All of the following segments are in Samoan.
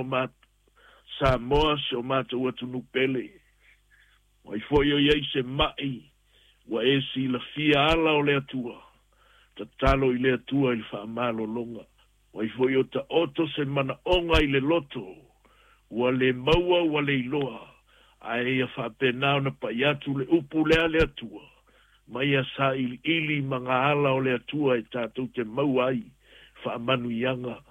lo Samoa, si o matou atunuu pele. O ai foi o i ai se ma'i ua e silafia ala o le Atua, tatalo i le Atua i le faamalologa. O ai foi o taoto se manaoga i le loto, ua le maua ua le iloa, ae ia faapena ona pai atu le upu lea a le Atua, ma ia sailiili ma ga ala o le Atua e tatou te maua ai faamanuiaga.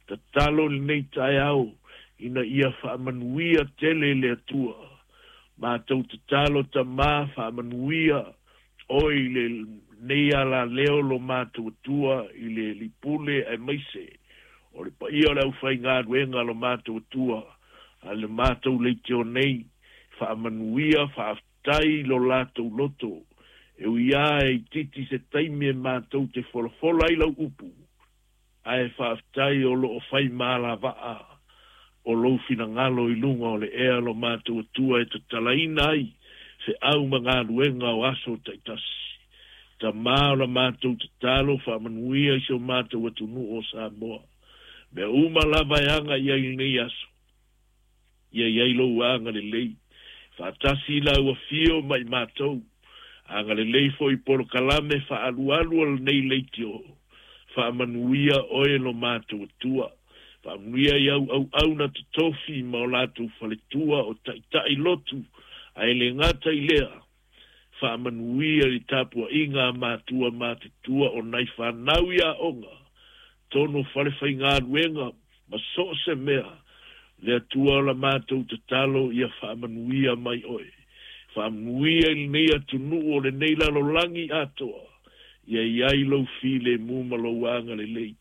Tatalo i lenei taeao ina ia faamanuia tele le Atua. Matou tatalo Tamā, faamanuia oe i lenei alaleo lo matou Atua i le Lipule aemaise o le paia o le aufaigaluega lo matou Atua a le matou leitio nei. Faamanuia, faafetai lo latou loto. E ui lava e itiiti se taimi e matou te folafola ai lau upu, ae faafetai o loo fai ma alavaa o lou finagalo i luga o le ea lo matou Atua e tatalaina ai feau ma galuega o aso taitasi. Tamā, o la matou tatalo, faamanuia i si o matou atunuu o Samoa. Mea uma lava e aga i ai lenei aso, ia i ai lou agalelei. Faatasi i lau afio ma i matou, agalelei foi polokalame faaalualu o lenei leitio. Faamanuia oe lo matou Atua. Faamanuia i au auauna totofi ma o latou faletua o taitai lotu, ae le gata i lea, faamanuia i le tapuaiga a matua matutua o nai fanau i aoga, tonu o fale faigaluega ma so o se mea. Le Atua o la matou tatalo, ia faamanuia mai oe. Faamanuia i lenei atunuu o lenei lalolagi atoa, ia i ai lou filemu ma lou agalelei.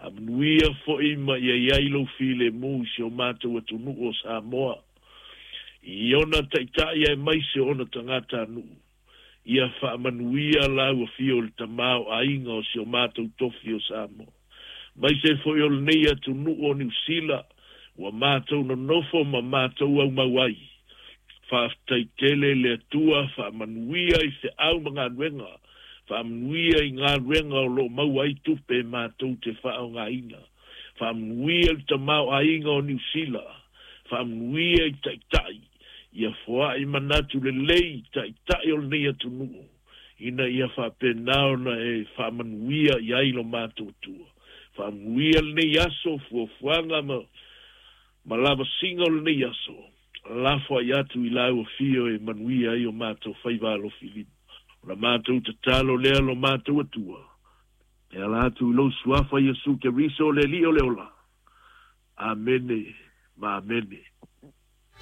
Amanuia foi ma ia i ai lou filemu i si o matou atunuu o Samoa, i ona taitai aemaise o ona tagatanuu. Ia faamanuia lau afio i le tamaoaiga o si o matou tofi o Samoa, maise foi o lenei atunuu o Niu Sila ua matou nonofo ma matou aumau ai. Faafetai tele le Atua, faamanuia i feau ma galuega, faamanuia i galuega o loo maua ai tupe e matou te faaaogaina. Faamanuia i le tamaoaiga o Niu Sila, faamanuia i taitai, ia foai manatu lelei taitai o lenei atunuu, ina ia faapena ona e faamanuia i ai lo matou Atua. Faamanuia lenei aso, fuafuaga ma lavasiga o lenei aso, lafo ai atu i lau afio e manuia ai o matou faiva alofilima. O la matou tatalo lea lo matou Atua, e ala atu i lou suafa Iesu Keriso le Alii o le ola. Amene ma amene.